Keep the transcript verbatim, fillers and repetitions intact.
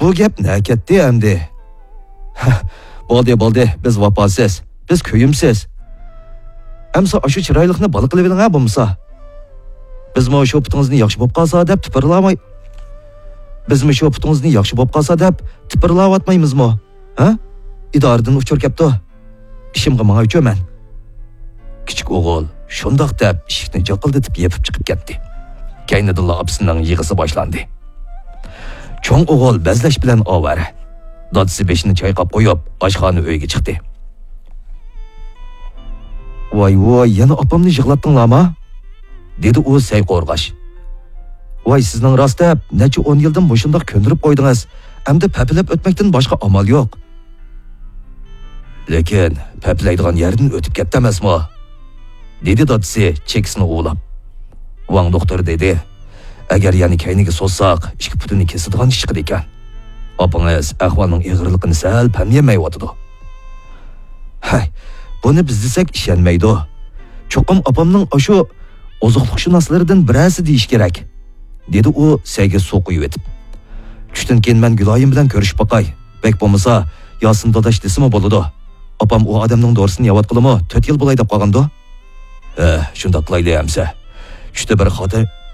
بۇ گەپ نەگە كەتتى ئەمدى؟ ھە، بولدى، بولدى، بىز ۋاپاسىز، بىز كۆيۈمسىز. ئەمسە ئاشۇ چىرايلىقنى بالا قىلىۋېلىڭ ھە بولمىسا. بىزمۇ شۇ پۇتىڭىزنى ياخشى بولۇپ قالسا دەپ تىپىرلاۋاي-، بىزمۇ شۇ پۇتىڭىزنى ياخشى بولۇپ قالسا دەپ تىپىرلاۋاتمايمىزمۇ؟ ھە؟ ئىدارىدىن ئۇچۇر كەپتۇ. ئىشىمغا ماڭايچۇ مەن. كىچىك ئوغۇل شۇنداق دەپ ئىشىكنى جاقىلدىتىپ يېپىپ چىقىپ كەتتى. كەينىدىنلا ئاپىسىنىڭ يىغىسى باشلاندى. چوڭ ئوغۇل بەزلەش بىلەن ئاۋارە. دادىسى بېشىنى چايقاپ قويۇپ، ئاشخانا ئۆيگە چىقتى. ۋاي ۋاي، يەنە ئاپامنى يىغلاتتىڭلارما؟ دېدى ئۇ سەي قورغاش. ۋاي، سىزنىڭ راست دەپ، نەچچە ئون يىلدىن مۇشۇنداق كۆندۈرۈپ قويدىڭىز. ئەمدى پەپىلەپ ئۆتمەكتىن باشقا ئامال يوق. لېكىن پەپلەيدىغان يەردىن ئۆتۈپ كەتتى ئەمەسمۇ؟ دېدى دادىسى چېكىسىنى ئۇۋىلاپ. ۋاڭ دوختۇر دېدى، ئەگەر يەنە كەينىگە سوزساق، ئىككى پۇتىنى كېسىدىغان ئىش چىقىدىكەن. ئاپىڭىز ئەھۋالنىڭ ئېغىرلىقىنى سەل پەملىيەلمەيۋاتىدۇ. ھەي، بۇنى بىز دېسەك ئىشەنمەيدۇ. چوقۇم ئاپامنىڭ ئاشۇ ئوزۇقلۇقشۇناسلىرىدىن بىرەرسى دېيىشى كېرەك، دېدى ئۇ سەيگە سۇ قۇيۇۋېتىپ. چۈشتىن كېيىن مەن گۈلايىم بىلەن كۆرۈشۈپ باقاي. بەك بولمىسا، ياسىن داداش دېسىمۇ بولىدۇ. ئاپام ئۇ ئادەمنىڭ دورىسىنى يەۋاتقىلىمۇ تۆت يىل بولاي دەپ قالغاندۇ. ھە، شۇنداق قىلايلى ئەمسە. چۈشتە بىر خاتىر-،